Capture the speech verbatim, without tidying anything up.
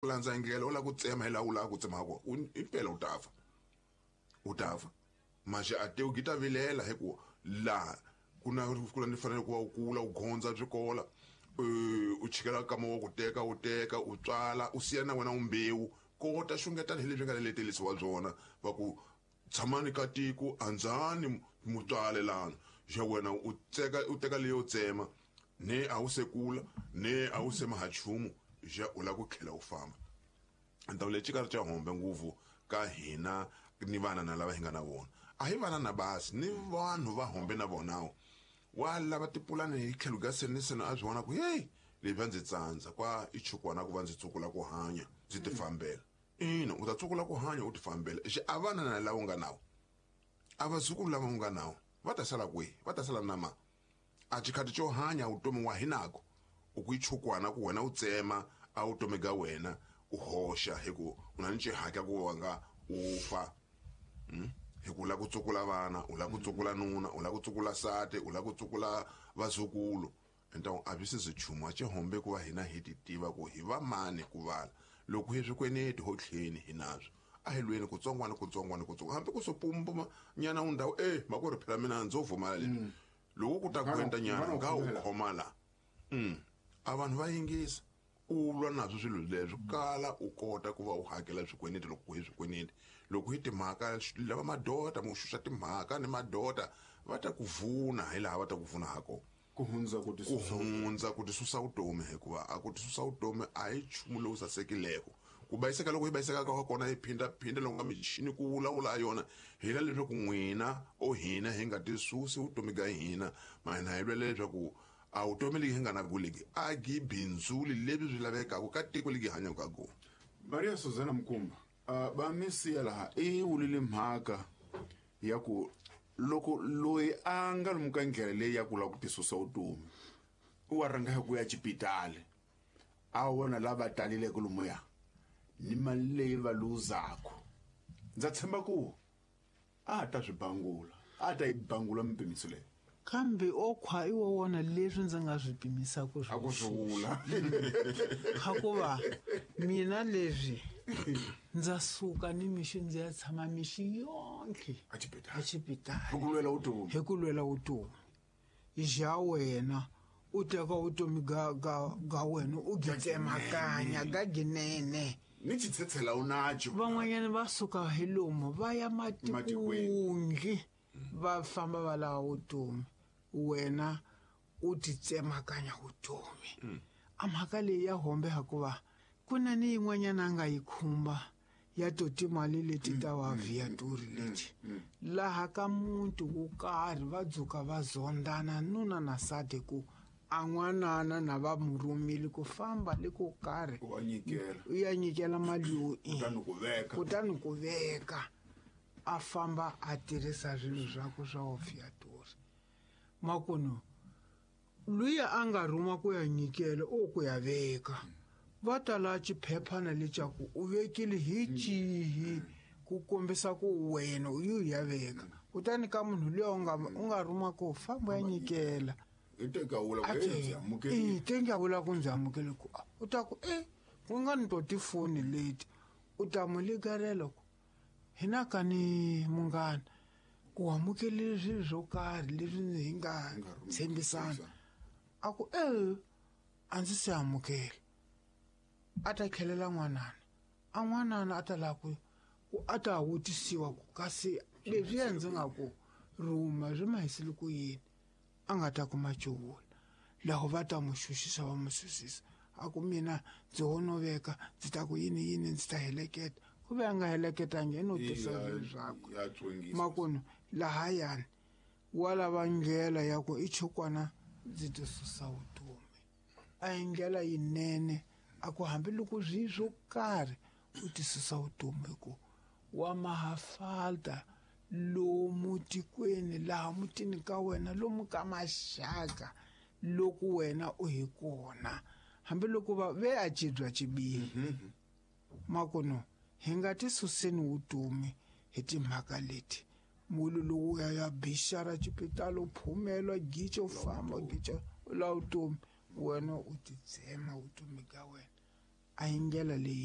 Landza ndlela u lava ku tsema hi laha u lava ku tsema kona, impela u ta fa, u ta fa. Maxe a tewu gi ta vilela hi ku laha ku na ku na ni fanele ku va u kula u gondza byi kola, u chikela kama wa ku teka u teka u tswala u siya na wena u mbewu kota xungetana hi leswi nga letelisiwa byona va ku tshamani ka tiko andzani mutswalelana xa wena u teka u teka leyo tsema ne a wu se kula ne a wu se maha nchumu xa u lava ku tlhela u famba. Ndhawu leyi xikarhi xa hombe ngopfu ka hina ni vana na lava hi nga na vona a hi vana na basi ni vanhu va hombe na vonawo wa lava tipulani hi tlhelo ka seni seni a swi vona ku heyi leyi va ndzi tsandza kwa i chukwana ku va ndzi tsukula ku hanya ndzi ti fambela. Ina u ta tsukula ku hanya u ti fambela xi a vana na lava u nga nawo a vazukulu lava u nga nawo va ta sala kwihi, va ta sala na ma a xikhati xo hanya vutomi wa hinako u ku ichukwana ku wena u tsema a vutomi ga wena u hoxa hi ku u na ni xihatla ku wa nga u fa. Hi ku lava ku tsukula vana, u lava ku tsukula nuna, u lava ku tsukula sati, u lava ku tsukula vazukulu. Então a byi se byi nchumu a xi hombe ku va hina hi ti tiva ku hi va mani ku vala loko hi swikweleti ho tlheni hi naswo a hi lweni kutsongwana kutsongwana kutsongo hambi ku swo nyana u ndhawu e makwerhu phela mina ndzo vumala leswi loko ku ta kwenta nyana nga u khoma la a vanhu va yingisa u lwa naswo swilo leswi kala u kota ku va u hakela swikweleti loko hi swikweleti loko hi timhaka lava madota mo xuxa timhaka ni madota va ta ku vuna hi laha va ta ku vuna ha kona ku hundza ku tisusa ku hundza ku tisusa vutomi hikuva a ku tisusa vutomi a hi nchumu lowu sasekileko ku bayiseka loko hi bayiseka ka kona hi phinda phinda loko nga michini ku vulavula yona hi la leswaku n'wina o hina hi nga tisusi vutomi ga hina mahina hi lwela leswaku a vutomi legi hi nga na kuleki a gi bindzuli lebyi byi lavekaka ka tiko legi hanyaka ka kona. Maria Suzana Mkumba uh, va mi siya laha i wulile mhaka ya ku loko loyi a nga lomu ka ndlela leyi ya ku lava ku tisusa vutomi u wa rhanga hi ku ya xipitali a vona lava taleleke lomuya ni mali leyi va luzaku ndza tshemba ku a ta swi bangula a ta yi bangula mipimiso leyi kambe o khwa i wo wona leswi ndzi nga swi pimisaka a ku swi vula hikuva mina leswi ndza suka ni mixo ndzi ya tshama mixo yonkhe a xipitali hi ku lwela vutomi hi ku lwela vutomi xa wena u teka vutomi ga ga ga wena u gi tsemakanya ga ginene ni xitshetshela u nacho van'wanyana va suka hi lomu va ya matikungi va famba va lava vutomi wena u ti tsemakanya vutomi a mhaka leyi ya hombe hikuva ku na ni yin'wanyana a nga yi khumba ya to timali leti ta wa viaturi leti laha ka muti wo karhi va dzuka va zondana nuna na sati ku a n'wanana na va mu rhumile ku famba le ko karhi wa nyikela u ya nyikela mali yo kutani ku veka kutani ku veka a famba a tirhisa swilo swakwe swa ofiatori makuno luya a nga rhuma ku ya nyikela o ku ya veka va tala xiphephana lexaku u vekile hi xihi ku kombisa ku wena u yi ya veka kutani ka munhu luya u nga u nga rhuma ku famba ya nyikela i teka vula ku ndzi amukelile te nga vula ku ndzi amukele ku u ta ku e ku nga ni to tifoni leti u ta mu ligarela ku hina ka ni munghana ku amukelile swilo swo karhi leswi hi nga tshembisana a ku e a ndzi se amukela a ta tlhelela n'wanana a n'wanana a ta lava ku ku a ta vutisiwa ku kasi leswiya ndzi nga ku rhuma swi ma hisile ku yini a nga ta kuma cuvula laho va ta mu xuxisa va mu susisa a ku mina ndzi ho no veka ndzi ta ku yini yini ndzi ta heleketa ku ve a nga heleketangi i no tisa swilo swakwe makunu lahayani wa lava ndlela ya ku i chukwana ndzi ti susa vutomi a hi ndlela yinene a ku hambiloko swi swo karhi u ti susa vutomi hi ku wa mahafalta lomu tikweni laha mutini ka wena lomu ka maxaka loko wena u hi kona hambiloko va ve a cibya cibihi makuno hi nga ti suseni vutomi hi timhaka leti mulu lowu ya ya bixara xipitali u phumela gicha u famba gicha u lava vutomi wena u ti tsema vutomi ka wena a hi ndlela leyi.